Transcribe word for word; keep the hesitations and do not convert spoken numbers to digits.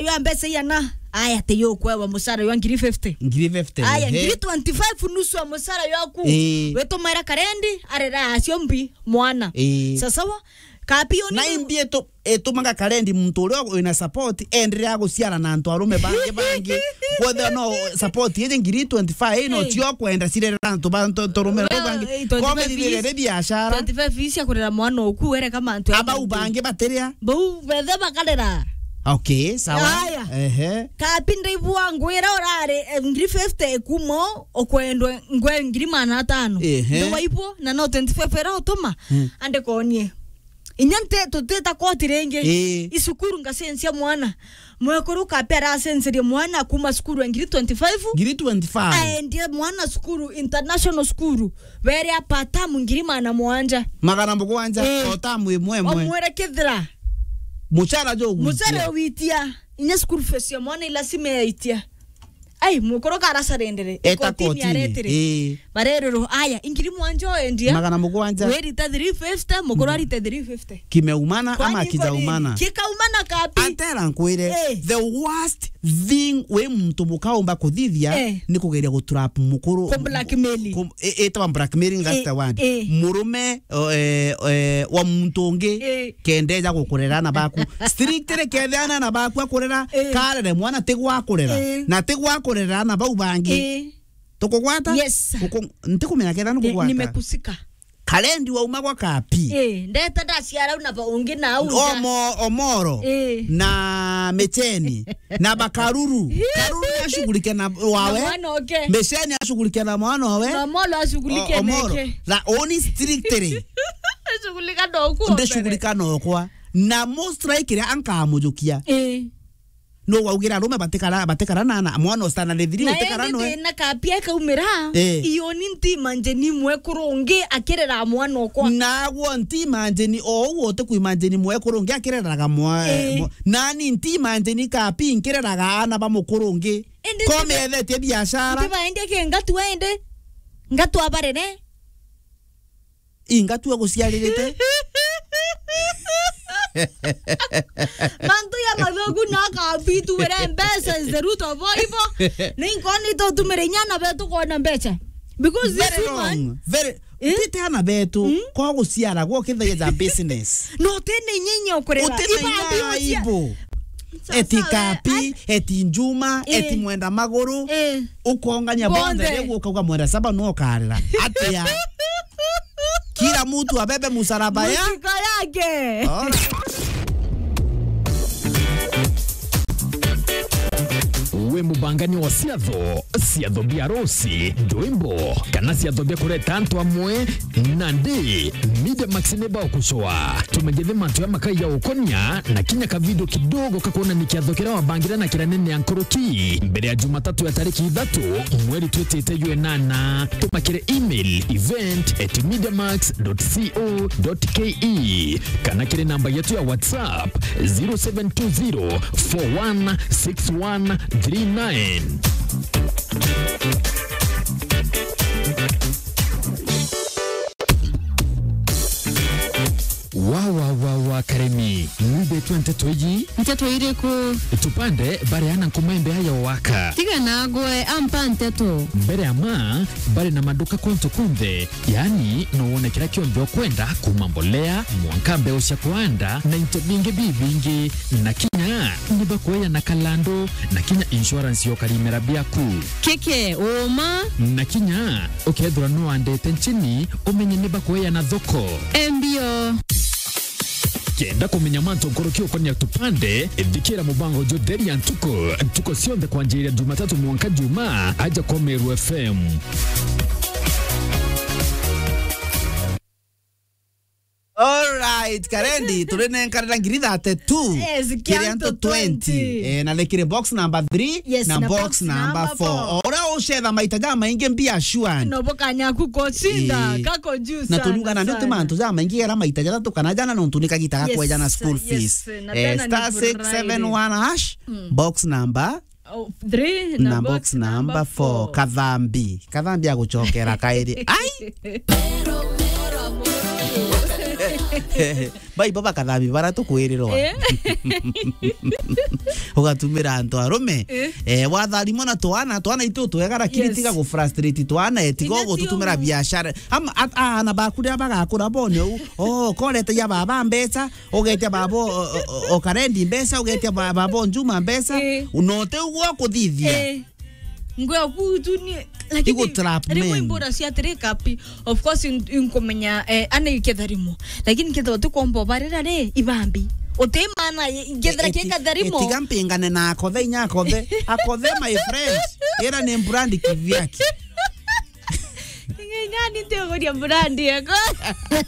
Yo mbeca iana. Aya, te yo kwewa musara yo ngiri fifty. Ngiri fifty, Aya, ehe. Ngiri twenty-five nusu ya musara yoku. Ii. Witumaira karendi, arera acio mbi mwana. Ii. Sasawa, kapi yo Na ni imbi itu-, itumaga karendi muntu uria wina support, enderea guciara na antu arume bangi bangi. Kwethira no support iji ngiri twenty-five ino Ii. cio kwenda cirerera antu ba ntu-, turume Well, bangi. eh, twenty-five Kombe thithire is-, ri biashara. twenty-five is ya kurera mwana oku, were kama antu Abau bangi batiria. Bau bethe bakarera. Okay, sawa. Aya. Ehe. Kapi ndaibua ngwira urari, eh, ngiri fifty ikumo, ukwendwe ngwe ngiri magana atano. Ehe. Ndawaibua, na no twenty-five era utuma, Hmm. ande konie. Inya nte, tutita koti ringi. Ii. Icukuru ngacensia mwana. Mwekuru kapi aracenserie mwana kuma cukuru ya ngiri twenty-five. Ngiri twenty-five. Aendie mwana cukuru, international school. Were apa tamu ngiri magana mugwanja. Magana mugwanja, Ii. o tamu imwe imwe. Omwere kithira. Mucara jo gwitia. Mucara witia. Inya school fees ya mwana ilasima yaitia. Ai, mukuru kara surrender. Eta Ikotini kotini. aretire. Ii. Marerero, aya, ingiri mwanja oendia. Magana mugwanja. Werita three fifty, mukuru arite three fifty. Kimeumana Kwani ama kijaumana? Kikaumana kapi? Atera nkwire, Eh. the worst thing we muntu mukaumba kuthithia Eh. ni kugeria gutrap mukuru. Ku blackmail. Ku-, e-, etawa blackmailing, that's Eh, the word. eh. Murume, o, eh, eh, wa muntu ungi Eh. kendeja gukurera ana baku. Strictly kethia ana, ana baku akurera, Eh. karere mwana ti gwa kurera. Eh. Na ti gwa kurera ana bau bangi. Eh. Tukugwata? Yes. Uku-, ntikumenya kethia Ni-, nukugwata. Nimekusika. Karendi wauma gwa kapi. Eh, ndeta ndaciara una ba ungi na au nja. Omo-, Omoro. Eh. Na Micheni. Na Bakaruru. Karuru ni ashughulike na wawe. Na mwana oke. Micheni ashughulike na mwana wawe. Na Omoro ashughulike O-, Omoro. neke. Na oni strictly. Ashughulika na okwa. Ndishughulika na okwa. Na mo strike ria ankamujukia. Eh. No waugira arume batikara, batikara na, na mwana ustana ni thiri Na utikara indi noe. Thina kapia kaumira, Eh. iyo ni nti imagine mwekuru ungi akirera mwana okwa. Nagwo nti imagine o u uti ku imagine mwekuru ungi akireraga mwa-, Eh. mwa-, nani nti imagine kapi nkireraga ana ba mukuru ungi. Indi Ko nti-, methetie biashara. Nti baendie ki ngatu ende. Ngatu abarere. Inga tu aguciaririte. Mantu ya mathogu na kabitu were mbeca is the root of all evil. Ni nkoni tutumire inya ana betu kona mbeca. Because this Very woman wrong. Very Eh? Tite ana betu, Mm? kwa guciara gwo kithagia ja business. No tene inya inya ukurera. Utene Iba inya mbio cia- aibu. Sasa Eti we, kapi, ai- eti njuma, Eh. eti mwenda maguru. Eh. Ukongania Bonthe. bonthe, riu ukauga mwenda saba no ukarira. Atia? Kila mtu abebe msalaba ya Mzigo yake. Alright. We mubangania wa ciatho, ciatho bia arusi, ndwimbo, kana ciatho bia kureta antu amwe, nandi Media Max ni bagucwa. Tumegethe mantu ya makai ya ukonia, na kinya ka video kidogo kakuonania kiatho kiria wabangire na kiria nene ya nkuruki, mbere ya Jumatatu ya tariki ithatu, mweri twitite jwa inana. Tuma kiri email event at mediamax dot co dot ke, kana kiri namba yetu ya WhatsApp zero seven two zero four one six one three nine. Wa, wa, wa, wa, Karemi, nwibitwe nteto iji? Nteto iriku? Tupande bareana nkuma imbeya ya waka. Tiga na ngwe ampa nteto. Mbere ya ma, bari na maduka kuntu kunthe, yaani no wone kiria kionthe ukwenda, kuma mbolea, mwanka mbeu cia kuanda, na into bingi bibingi, na kinya ni bakueana kalandu, na kinya insurance ya ukarimera biaku. Keke, uma. Na kinya ukethirwa no wandete nchini, umenye ni bakueana thoko. Embio. Kenda kumenya mantu nkuruki ukonia tupande, thikira mubango jutheria ntuku, ntuku cionthe kwanjiria Jumatatu mwanka Juma, aja kwa Meru F M. Alright, Karendi, turi nenkanira ngiri thirty-two. Yes, kiri antu twenty. Twenty. Eh, na ni kiri box number three, yes, na na box box number number four. four. Ora ucetha maita ja maingi mbia shuan. No bokanyaku kocinda, Eh, kako juu na sana, turuga na ndio sana. Mantu ja maingi era maita jathatu kana jana no ntunika gita Yes, kwejana school yes, fees. Na Eh, tena ni star six seven one hash, Mm. box number Oh, three na na box box number number four. four. Kathambi. Kathambi agucokera kairi. Ai! Baibo bakathamia bara tukwirirwa. Eh. Ugatumira antu arume. Eh. Eh, watharimwa na twana, twana itu twega, lakini Yes. tiga gu frustrate twana, eh, tiga Ina ugututumira ciongo. biashara. Ama, at-, aana baku riria bagakura bone u, oh, korete ya baba mbeca, ugetia baba o, o, o, o Karendi mbeca, ugetia ba-, baba o Njuma mbeca, Eh. unote ugwo kuthithia. Eh. Ngwe kutu ni, lakini Igu trap rimwe men. imbura cia tiri kapi. Of course, in-, inkumenya, eh, ana iketharimo. Lakini kethira utikomba ubarira ri, ibambi. Uti maana, i-, kethira E-, eti-, kiekatharimo. etiga mpingane na akothe, inya akothe. Akothe, my friend. Ira ni brand kivyake. Ing'ang'ani ntiuguria brand yako.